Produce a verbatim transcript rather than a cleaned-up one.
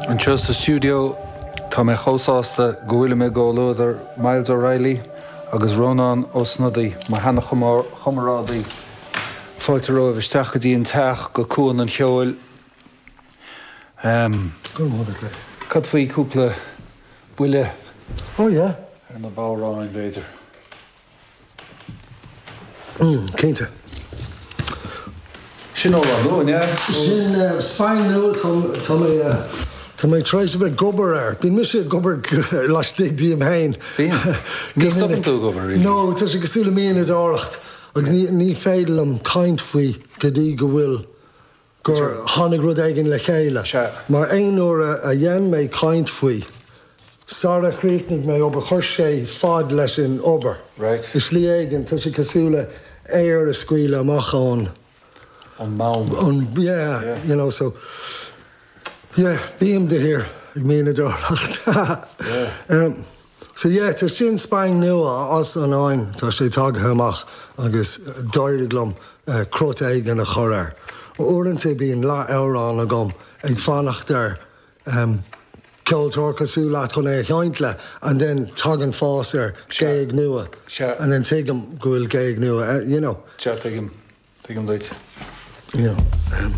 Anseo sa stiúideo, tá mé chomh sásta go bhfuil mé i gcomhluadar Myles O'Reilly agus Rónán Ó Snodaigh, mo sheanchomrádaí. Fáilte romhaibh isteach go dtí an teach, go Cuan an Cheoil. Um, Cad faoi cúpla buille Oh yeah. ar na bodhráin, b'fhéidir? Mm, cinnte. Sin amhrán nua, ne? Sin uh, spang nua. tá tá mé uh, tá mé tar éis a bheith ag obair air. Bíonn mise ag obair laistigh díom féin. Bíonn. Ní stopann tú ag obair, really. No, tá sé cosúil le mianadóireacht agus ní ní féidir liom caint faoi go dtí go bhfuil gur tháinig rud éigin le chéile. Sea. Mar aon uair a a dhein mé caint faoi, sara chríochnaigh mé obair, chuir sé fad leis an obair. Right. I slí éigin, tá sé cosúil le aer a scaoileadh amach ón An mám. on yeah, Yeah. you know so yeah, bím de shíor ag mianadóireacht. Yeah. um, so yeah, tá sin spang nua as an áin, tá sé tagtha amach agus d'éirigh liom uh, crot éigin a chur air. Uaireanta bíonn leath-amhrán agam ag fanacht ar um, ceoltóir cosúil leat chun é a sheinnt le, and then tagann fás ar géag nua. Sea. And then tuigim go bhfuil géag nua, uh, you know. Sea, tuigim tuigim duit. You know. Um,